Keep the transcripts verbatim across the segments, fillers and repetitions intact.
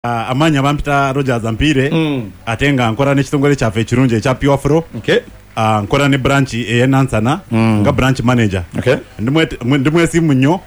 Uh, amanya bampita Rogers Ampire mm. ate nga nkola n'ekitongole kyaffe ekirungi ekya Pure Flow. Okay. Uh, nkola ne branch ey'e Nansana mm. nga branch manager. Okay. Ndi mwesimu nnyo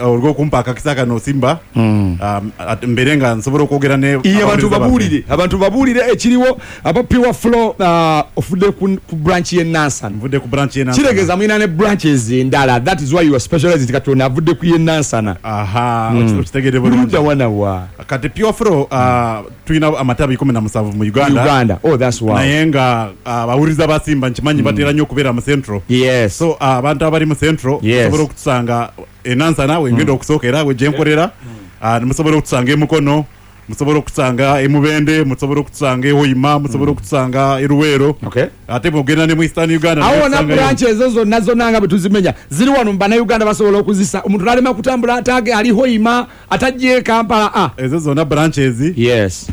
olw'okumpa akakisa kano Simba mm. um, mbeere nga nsobola okwogera ne iye abantu babuulire abantu babuulire ekiriwo aba Pure Flow. uh, ofudde ku, ku branch y'e Nansana. Nvudde ku branch y'e Nansana, kitegeeza mulina ne branches endala, that is why you are specialized. Kati ono avudde ku y'e Nansana. Aha, mm. okitegedde bulungi. Ludda wana wa kati Pure Flow uh, tulina amatabi kumi na musanvu mu Uganda. Uganda. Oh, that's wow. Naye nga abawuliza uh, ba Simba nkimanyi mm. batera nnyo okubeera mu Central. Yes. So abantu uh, abali mu Central yes. musobola okutusanga e Nansana wengenda mm. okusookera we gye nkolera. Mm. uh, musobola okutusanga e Mukono, musobola okutusanga e Mubende, musobola okutusanga e Hoima, musobola okutusanga e Luweero. Okay. Ate bw'ogenda ne mu Eastern Uganda awo na branch ezo zonna zonna nga bwe tuzimenya ziri wano mu Bannayuganda basobola okuzisa omuntu n'alema kutambula atage ali Hoima atajja e Kampala. Ah, ezo zonna branches yes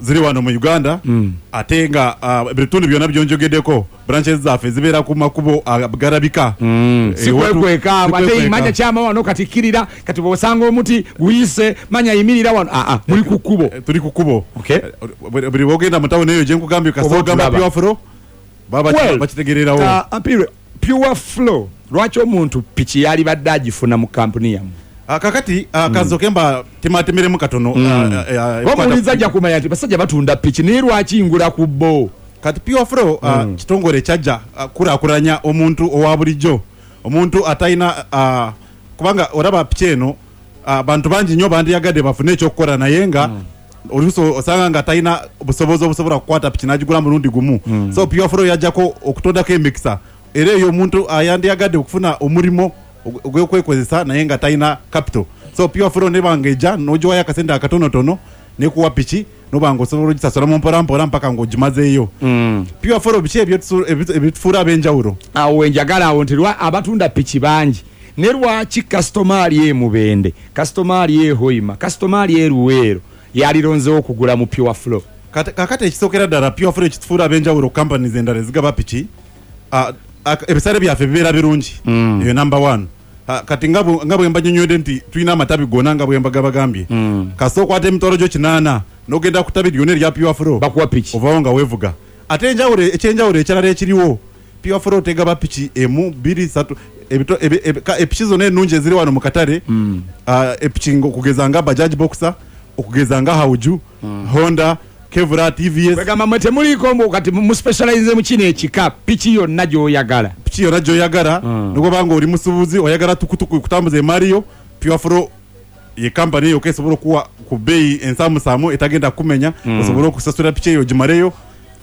ziri wano mu Uganda. Mm. Ate nga uh, ebitundu byonna byonjogeddeko branches zaffe zibeera ku makubo agarabika. Mm. E, sikwekweka ate manya kyama wano kati kkirira kati bw'osanga omuti guyise manya yimirira wano. Ah, ah, muli ku kkubo. Tuli ku kkubo. Okay. Buli bw'ogenda mu tawuni eyo gye nkugambye kasita ogamba Pure Flow baba well, bakitegeererawo. Uh, Ampire, Pure Flow lwaki omuntu piki yali badde agifuna mu kampuni yammwe? Uh, kakati uh, mm. kazoke mba tematemeremu katono. Mm. Omuwuliza ajja kumanya nti basajja batunda piki naye lwaki ngula ku bo? Kati Pure Flow uh, mm. kitongole kyajja uh, kulaakulanya omuntu owa bulijjo, omuntu atalina uh, kubanga olaba piki eno abantu uh, bangi nnyo bandiyagadde bafune ekyokukola naye nga mm. oluusi osanga nga talina busobozi obusobola kukwata piki n'agigula mulundi gumu. Mm. So Pure Flow yajjako okutondako emikisa era eyo omuntu ayandiyagadde okufuna omulimo ogw'okwekozesa naye nga talina capital. So Pure Flow nebanga ejja n'ogiwayo akasente akatonotono nekuwa piki nobanga osobola ogisasula mu mpola mpola mpaka ng'ogimazeeyo. Mm. Pure Flow biki ebitufuula ab'enjawulo? Awo wenjagala awo nti abatunda piki bangi ne lwaki kasitoma ali e Mubende, kasitoma ali e Hoima, kasitoma ali e Luweero yalironzeewo okugula mu Pure Flow? Kakati ekisookera ddala Pure Flow ekitufuula ab'enjawulo ku companies endala ezigaba piki, uh, ebisale byaffe bibeera birungi. Mm. Eyo number one. Uh, kati nga bwe mbannyonnyodde nti tulina amatabi gonna nga bwe mbagabagambye. Mm. Kasita okwata emitwalo gyo kinaana n'ogenda ku ttabi lyonna erya Pure Flow bakuwa piki ovaawo nga weevuga. Ate enjawulo ekyenjawulo ekirala ekiriwo, Pure Flow tegaba piki emu bbiri ssatu epiki zonna ennungi eziri wano mu katale. Mm. uh, epiki okugeza nga Bajaj Boxer, okugeza nga Hauju, mm. Honda, Kevra, T V S. Kwegamba mwe temuliiko mbu kati mu specialize mu kino ekika piki yonna gy'oyagala. Piki yonna gy'oyagala mm. nogobanga oli musuubuzi oyagala tukutuku kutambuza emaali yo, Pure Flow ye kampani eyo esobola okuwa ku bbeeyi ensaamusaamu etagenda kumenya. Mm. Osobola okusasula piki eyo ogimaleyo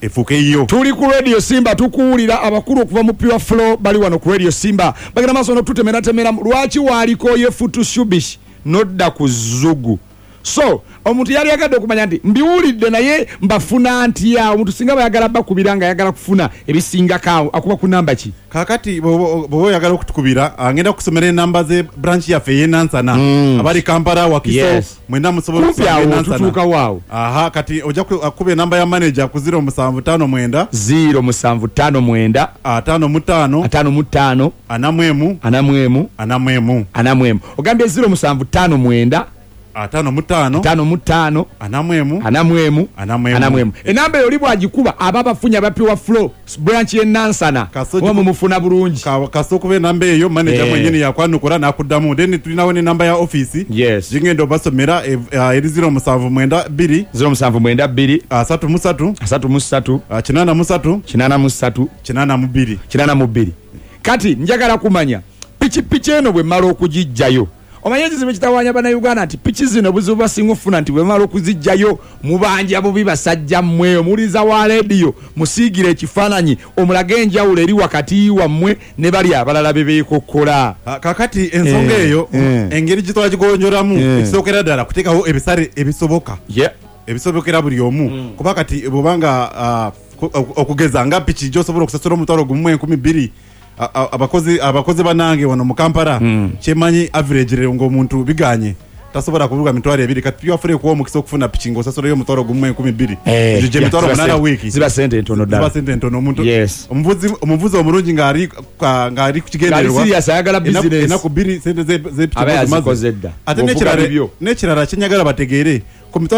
efuuke yiyo. Tuli ku Radio Simba tukuwulira abakulu okuva mu Pure Flow bali wano ku Radio Simba bagenda maaso n'okututemeratemera lwaki waaliko ye Futushubish nodda ku Zugu. So omuntu yali yagadde okumanya nti mbiwulidde naye mbafuna ntya? Omuntu singa bayagala bakubira nga ayagala kufuna ebisingako awo akuba ku namba ki? Kakati bw'oba oyagala okutukubira ngenda kusomera enamba ze branch yaffe ey'e Nansana. Mm. Abali Kampala, Wakiso, yes. mwenna musobola Kumpi okusanga e awo Nansana. tutuukawo awo. Aha, kati ojja kuba enamba ya manager ku zero musanvu ttaano mwenda zero musanvu ttaano mwenda ataano mu ttaano ataano mu ttaano ana mu emu ana mu emu ana mu emu ana mu emu. Ogambye zero musanvu ttaano mwenda ataano mu ttaano ataano mu ttaano ana mu emu ana mu emu ana mu emu ana mu emu. Enamba eyo oli bw'agikuba aba abafunye aba Pure Flow branch y'e Nansana oba mumufuna bulungi. Kasita okuba enamba eyo manager Eh. mwennyini yakwanukula n'akuddamu. Then tulinawo n'enamba ya office Yes. gingenda obasomera eri zero musanvu mwenda bbiri zero musanvu mwenda bbiri asatu mu ssatu asatu mu ssatu kinaana mu ssatu kinaana mu ssatu kinaana mu bbiri kinaana mu bbiri. Kati njagala kumanya pikipiki eno bwe mmala okugiggyayo, omanye ekizibu ekitawaanya Bannayuganda nti piki zino obuzibu basinga okufuna nti bwe mmala okuziggyayo mubanja bubi basajja mmwe. Omuwuliriza wa rediyo musiigire ekifaananyi omulage enjawulo eri wakati wammwe ne bali abalala be beekokkola. Kakati ensonga Eh, eyo eh. engeri gye twagigonjolamu Eh. ekisookera ddala kuteekawo ebisale ebisoboka Yeah. ebisobokera buli omu. Mm. Kuba kati bw'obanga uh, okugeza nga piki gy'osobola okusasula omutwalo gumu mu enkumi bbiri abakozi abakozi banange wano mu Kampala mm. kyemanyi average rero ng'omuntu biganye tasobola kuvuga mitwalo ebiri. Kati Pure Flow ekuwa omukisa okufuna piki ng'osasulayo omutwalo gumu mu enkumi bbiri. Eh, Egyo gye yeah, mitwalo ziba munaana sente- wiiki. ziba sente ntono ddala. Ziba sente ntono omuntu. Yes. Omuvuzi omuvuzi omulungi ng'ali ng'ali ku kigendererwa. Ng'ali serious, ayagala Ennaku- business. Ennaku bbiri sente ze- ze piki Aba zimaze. yazikoze dda. Ate Ng'ovuga n'ekirala bibyo. n'ekirala kye njagala bategeere